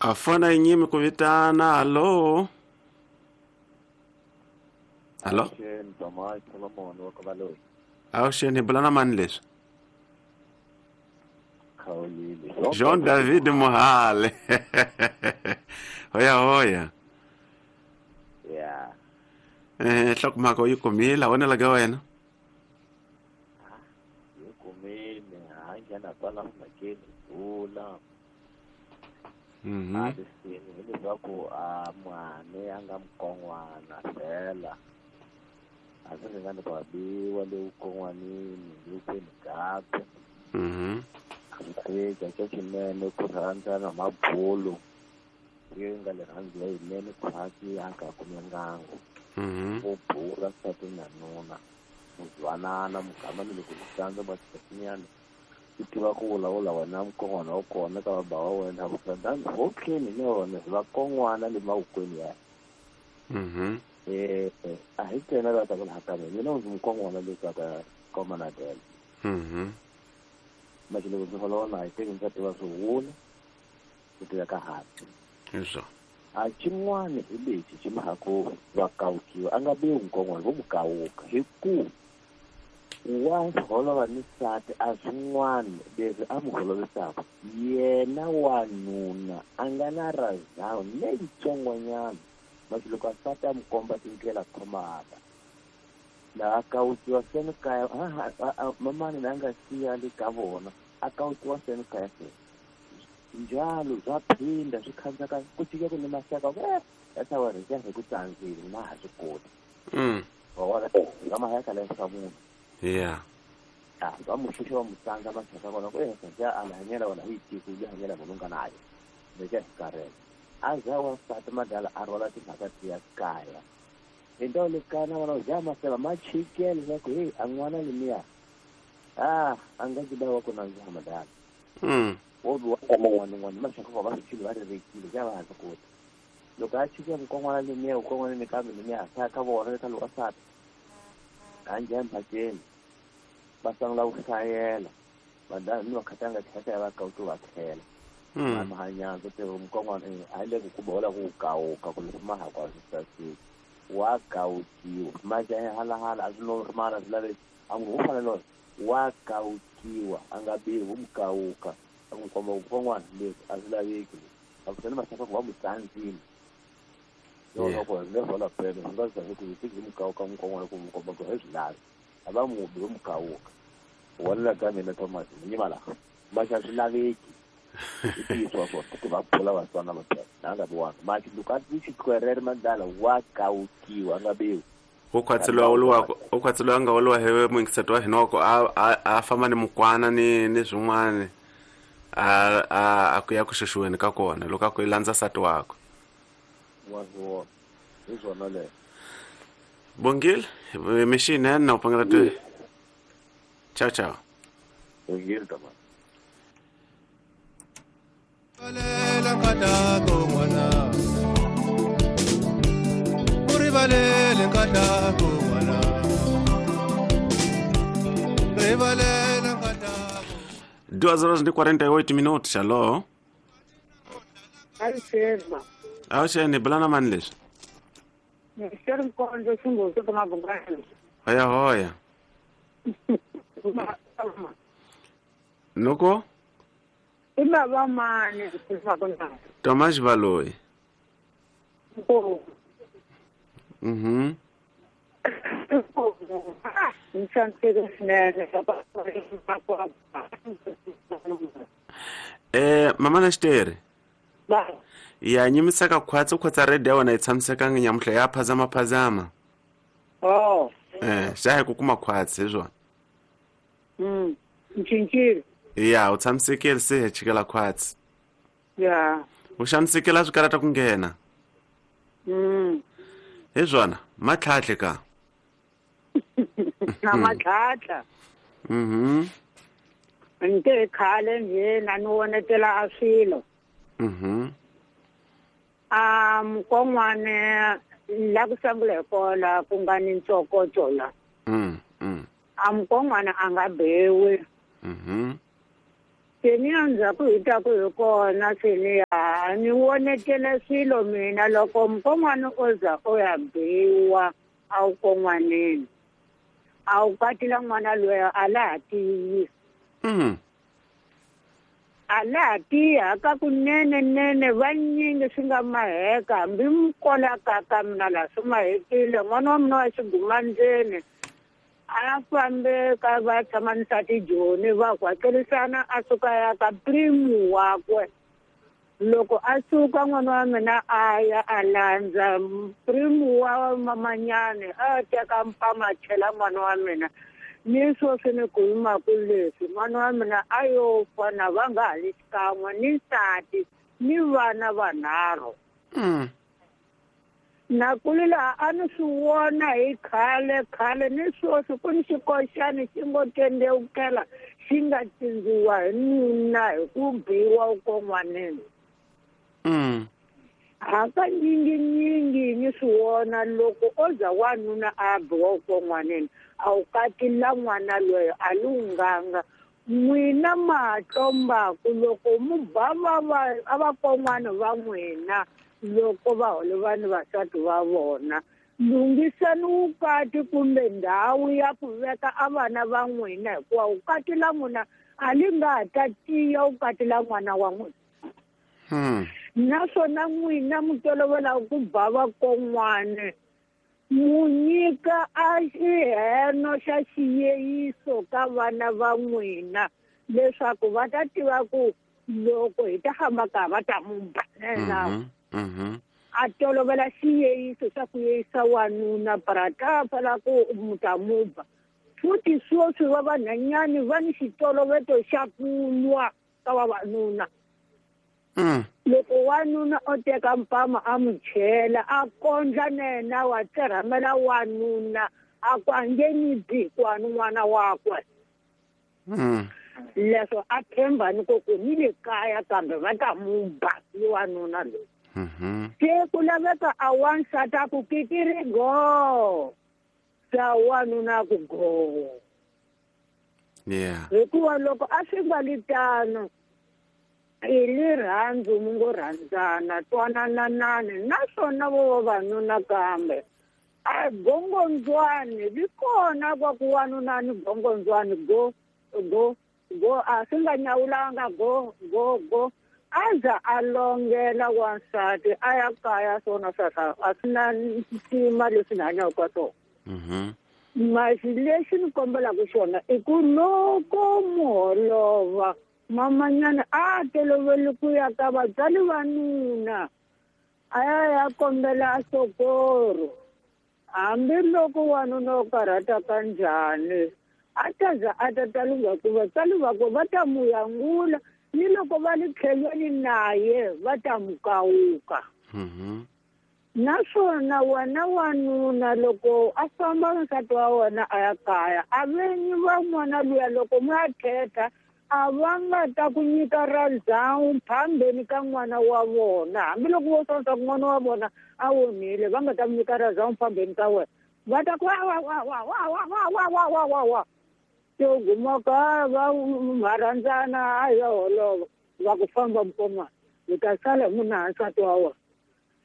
A fona yi nyimi ku vitana. Hallo, hallo. Avuxeni, hi bula na mani leswi? Jean David Mohale. Hoya hoya. Ya. Nhlokomhaka u yi kumile, vonela ka wena. Yi kumile, ha nghena kwala mhakeni bula. Alisini hileswaku a mwane a nga mukon'wana fela a swi ringani ku abiwa le vukon'wanini le vukweni byakwe. Swi xa xinene ku rhandzana mabulu yi nga le rhandzu yinene khwatsi a nga kume ngangu. Ku bula nsati na nuna muzwanana mugama ni loko ku tsandza matatinyana i tiva ku vulavula wena mukon'wana wa kona ka baba wa wena vukandani hotleni ni wona hi vakon'wana le mavokweni ya. A hi ntsena la ta ku laha ka mina mina ndzi mukon'wana le ka ka komanadela. Manje loko ndzi holova na hi teki ndzi tiva swihula ku tiva ka hansi. A xin'wana hi lexi xi mhaka va kawukiwa a nga biwi mukon'wana vo mu kawuka hi ku wa holova ni nsati a swin'wana leswi a mu holovisaka yena wanuna a nga na razhawu leyitsongonyana manje loko a nsati a mu komba tindlela khomaka laha kawukiwa seni kaya mamani la nga siya le ka vona a kawukiwa seni kaya se njalo bya phinda swi khandzaka ku fika ku ni maxaka ku ya wena hi hi ku tsandzile na ha swi koti. Wa vona nga mahaya ka leswa munhu. Yeah. Va mu xuxa va mu tsandza maxaka kona ku ya a hanyela wena hi tiko ya hanyela munhu nga nayo lexi hi karhele a za wansati madala a rhwala timhaka tiya kaya hi ndhawu le kaya na vona ja maseva ma chikele leswaku heyi a n'wana lemiya a nga ndzi wa ku nandziha madala. Wo biwa n'wana n'wana maxaka va va swi va ri vekile ja va ha swi koti loko a chike mukon'wana lemiya mukon'wana ni kambe lemiya sa ka vona ka loko sati a njhe mhakeni va sungula ku hlayela madala ni vakhatanga tlhela ya va kawuti va tlhela mahanyandza te mukon'wana a hi le ku ku bola ku kawuka ku loko ma ha kwa swi saseki wa kawukiwa manje halahala a swi normal a swi laveki a n'wi u fanele wa kawukiwa a nga biwi wu mu kawuka a n'wi komba mukon'wana leswi a swi laveki a ku sani maxaka ku va mu tsandzile loko hi nge hola pele swi nga zahi ku hi mu kawuka mukon'wana ku mu komba ku hi swi lavi a va mubi vo mu kawuka vonela ka mina Thomas ni yima laha maxa swi laveki i ntiyiso wa swona ku va phula vatswana va na nga biwanga maxi loko a ti xikwere madala wa kawukiwa a nga biwi u khwatseliwa nga woliwa hi muyingiseti wa hina wa ku a famba ni mukwana ni swin'wana a ku ya ku xuxiweni ka kona loko a ku i landza nsati wakwe. Wa swona hi swona leswo. Bongile mixinene na u pangela ti. Ciao ciao. Bongile tama. Duas horas e 48 minutos. Alô? Avuxeni, bulana mani leswi? Hoya hoya. Noko? Tomás Baloyi. Mama na xitere. Ya nyimiseka khwatsi khwatsa radio ya wena yi tshamisekanga nyamuhla ya phazama phazama. Xa hi ku kuma khwatsi hi swona. Ncincile. Ya u tshamisekile se hi chikela khwatsi. Ya. U xanisekela swi karata ku nghena. Hi swona matlhatlhe ka. Na matlhatla. Nte khale nje na ni vonetela a swilo. A mukon'wana la ku sungula hi kona ku nga ni ntsokoto la. A mukon'wana a nga bewi. Se ni ya ndzhaku hi taku hi kona se ni ya ni vonetele swilo mina loko mukon'wana o za o ya biwa a wu kon'waneni a wu katila n'wana loyi a la ha tiyi. A la ha tiyi haka kunene nene vanyingi swi nga maheka hambi mukola ka mina laha swi mahekile n'wana wa mina wa xigumandzeni a fambe ka va tshama nsati Joni va kwakelisana a suka ya ka primu wakwe. Loko a suka n'wana wa mina a ya a landza primu wa mamanyani a teka mpama a chela n'wana wa mina. Ni sweswi ni ku yimaku leswi n'wana wa mina a yo fa na va nga ha li xikan'we ni nsati ni vana vanharhu. Na kuli laha a ni swi vona hi khale khale ni sweswi ku ni xikoxani xi ngo tendewukela xi nga cindziwa hi nuna hi ku biwa ukon'waneni. Hakanyinginyingi ni swi vona loko o za wanuna a biwa ukon'waneni a wu katila n'wana loyi a lunghanga. N'wina ma tlombaku loko mu ba a vakon'wana va n'wina loko va holova ni vasati va vona lunghisani vukati kumbe ndhawu ya ku veka a vana va n'wina hikuva vukati la n'wina a li nga ha ta tiya vukati la n'wana wa n'wina. Naswona n'wina mi tolovela ku ba vakon'wana mu nyika a xiheno xa xiyeyiso ka vana va n'wina leswaku va ta tiva ku loko hi ta famba ka va ta mu ba na. A tolovela xiyeyiso xa ku yeyisa wanuna para ta ku mu ta mu ba. Futhi sweswi va vanhanyani va ni xitoloveto xa ku lwa ka vavanuna. Loko wanuna o teka mpama a mu chela a kondla na yena wa tserhamela wanuna a ku a nge ni bi hikuva ni n'wana wakwe. Leswo a tshemba ni ku ni le kaya kambe va ta mu ba i wanuna loyi. Se ku laveka a wansati a ku kikiri go sa wanuna ku go. Hikuva loko a swi nga li tano i rirhandzu mi ngo rhandzana twanananani naswona vo vavanuna kambe a gongondzwani li kona kwa ku wanuna ni gongondzwani go go go a swi nga nyawulanga go go go a za a longela wansati a ya kaya swona sweswo a swi na ntima leswi ni hanyaka ka swona. Masi lexi ni kombelaka xona i ku loko muholova mamanyana a toloveli ku ya ka vatswari va nuna a ya ya kombela sokoro hambiloko wanuna o karhata ka njhani a ta za a ta ta lungha ku vatswari vakwe va ta mu yangula ni loko va li tlhelweni naye va ta mu kawuka. Naswona wena wanuna loko a famba nsati wa wena a ya kaya a venyi va n'wana luya loko mi ya thetha a va nga ta ku nyika ra ndhawu phambeni ka n'wana wa vona hambiloko vo swa ku n'wana wa vona a onhile va nga ta mu nyika ra ndhawu phambeni ka wena va ta ku wa wa wa wa wa wa wa wa wa wa wa se u guma ka va marhandzana a ya holova va ku famba mukon'wana u ta sala hi munhu nsati wa wena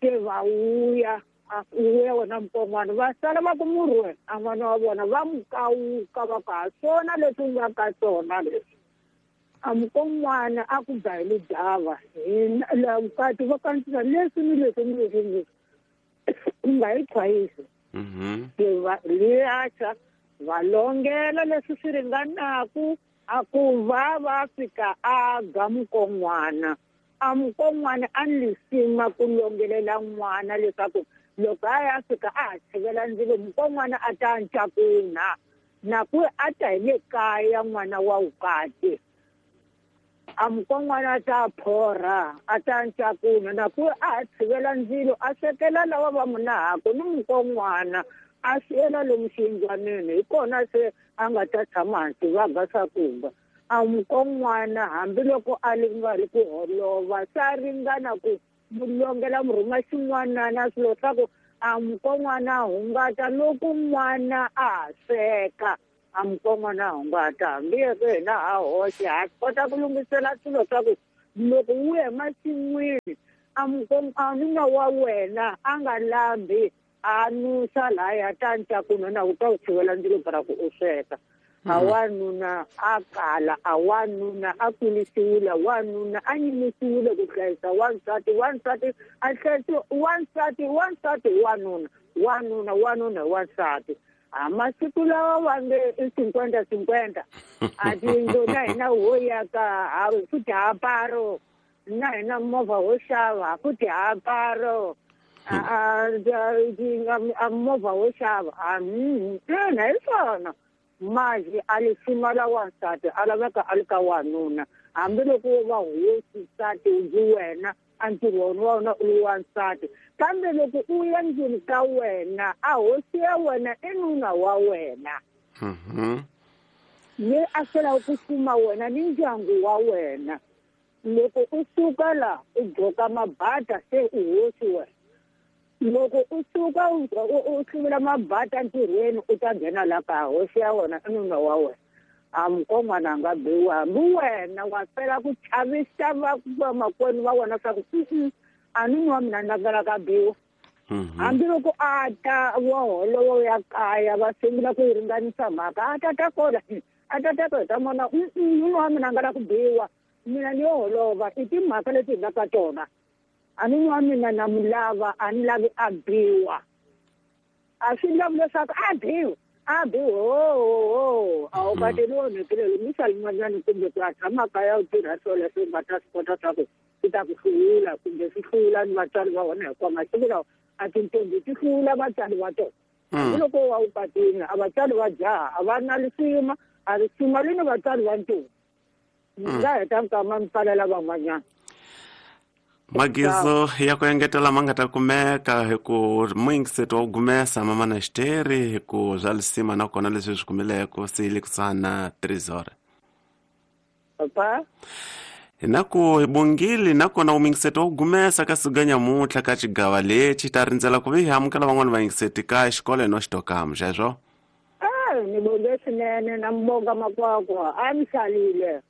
se va vuya a vuya wena mukon'wana va sala va ku murhwe a n'wana wa vona va mu kawuka va ku ha swona leswi u nga ka swona leswi. A mukon'wana a ku ba hi lidava hina vukati va kandzisa leswi ni leswi ni leswi ni leswi u nga yi chwayisi. Liacha va longela leswi swi ringanaku a ku va va fika a ga mukon'wana a mukon'wana a ni lisima ku longelela n'wana leswaku loko a ya fika a ha tshivela ndzilo mukon'wana a ta ncakunha na ku a ta hi le kaya n'wana wa vukati. A mukon'wana a ta phorha a ta ncakunha na ku a ha tshivela ndzilo a swekela lava va munahaku ni mukon'wana a siyela lomu xiyindlwanini hi kona se a nga ta tshama hansi va ga swakudya. A mukon'wana hambiloko a li nga ri ku holova swa ringana ku mu longela mu rhuma xin'wanana swilo swa ku a mukon'wana a hungata loko n'wana a ha sweka. A mukon'wana hungata hambi yeke hina ha hoxe ha kota ku lunghisela swilo swa ku loko wu ya emasin'wini a nuna wa wena a nga lambi a nusa laya ta ncakuno na u ta u tshivela ndzilo para ku u sweka. A wanuna a kala, a wanuna a kulisiwile, wanuna a nyimisiwile ku hlayisa wansati, wansati a hlayisiwa wansati, wansati wanuna, wanuna wanuna wansati. A masiku lawa va nge i 50-50 a tiyindlu na hina ho yaka ha futhi ha paro na hina movha ho xava futhi ha paro a movha ho xava a ina hi swona maji a lisima la wansati a laveka a li ka wanuna hambiloko wo va hosi nsati ndzi wena a ntirho wa wena u li wansati kambe loko u ya ndlwini ka wena a hosi ya wena i nuna wa wena le a selaka ku fuma wena ni ndyangu wa wena loko u suka la u gqoka mabata se u hosi wena loko u suka u hluvula mabata ntirhweni u ta nghena la ka hosi ya wena i nuna wa wena a mukon'wana a nga biwi hambi wena wa fela ku chavisa vamakwenu va wena swa ku a nuna wa mina ni ka biwa hambiloko a ta wa holovo ya kaya va sungula ku yi ringanisa mhaka a ta ta kona a ta ta kona ta mona nuna wa mina a nga la ku biwa mina ni yo holova i timhaka leti hi nga ka tona a nuna wa mina na mu lava a ni lavi a biwa a swi lavi leswaku a biwa a biwa ho a wu kateli onhekile lumisa lin'wanyani kumbe ku a tshama kaya u tirha swilo leswi u nga ta swi kota swa ku swi ta ku hlula kumbe swi hlula ni vatswari va wena hikuva masiku lawa a tintombi ti hlula vatswari va tona hambiloko wa wu katini a vatswari va jaha a va na risima a risima ri ni vatswari va ntombi nga heta nkama mi pfalela van'wanyana. Magizo ya ku engetela ma nga ta kumeka hi ku muyingiseti wa ku gumesa mamana xiteri hi ku swa lisima nakona leswi swi kumileko se yi le kusuhani na 3 hora. Papa na ku hi bongile nakona umuyingiseti wa ku gumesa ka siku nyamuntlha ka xigava lexi ta rindzela ku vi hi amukela van'wani vayingiseti ka xikolo no xitokamu xexo. Ni bonge swinene na mbonga makwakwa a mi hlalile.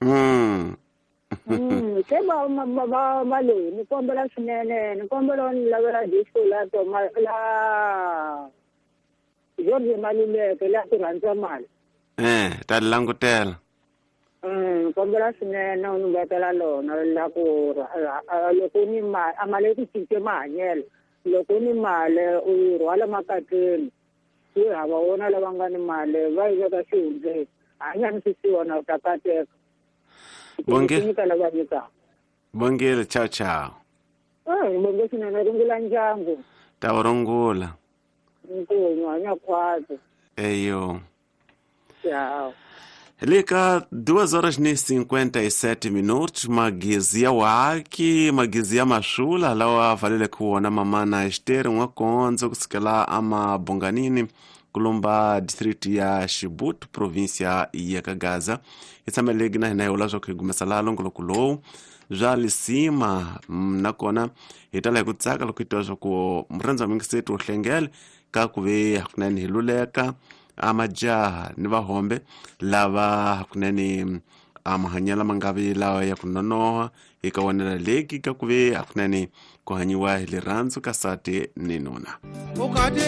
Se va va va loyi ni kombela swinene ni kombela ni lavela disco la toma la George Maluleke la ku rhandza mali. Ta langutela. Kombela swinene u ni vekela lona la ku loko ni mali a mali ku cince mahanyelo loko ni mali u yi rhwala makatleni yi hava wona lava nga ni mali va yi veka xihundleni hanya ni swisiwana u ta kateka. Bonge. Bongile, ciao ciao. Bonge swinene rungula ndyangu. Ta wu rungula. Nkunyu hanya khwatsi. Eyo. Ciao. Lika 2:57 minutos magezi ya waki magezi ya mashula lawa valele kuona mamana Esther Nwakonzo kusukela ama Bonganini kulomba district ya Chibuto província ya Kagaza itsamelegi na hina yola zwa kuigumesa la longoloko lowu bya lisima nakona hi tala hi ku tsaka loko hi twa swa ku murhandzi wa mingiseti wo hlengele ka ku ve hakunene hi luleka a majaha ni vahombe lava hakunene a mahanyelo ma nga vi lawa ya ku nonoha hi ka wonela leki ka ku ve hakunene ku hanyiwa hi rirhandzu ka sati ni nuna.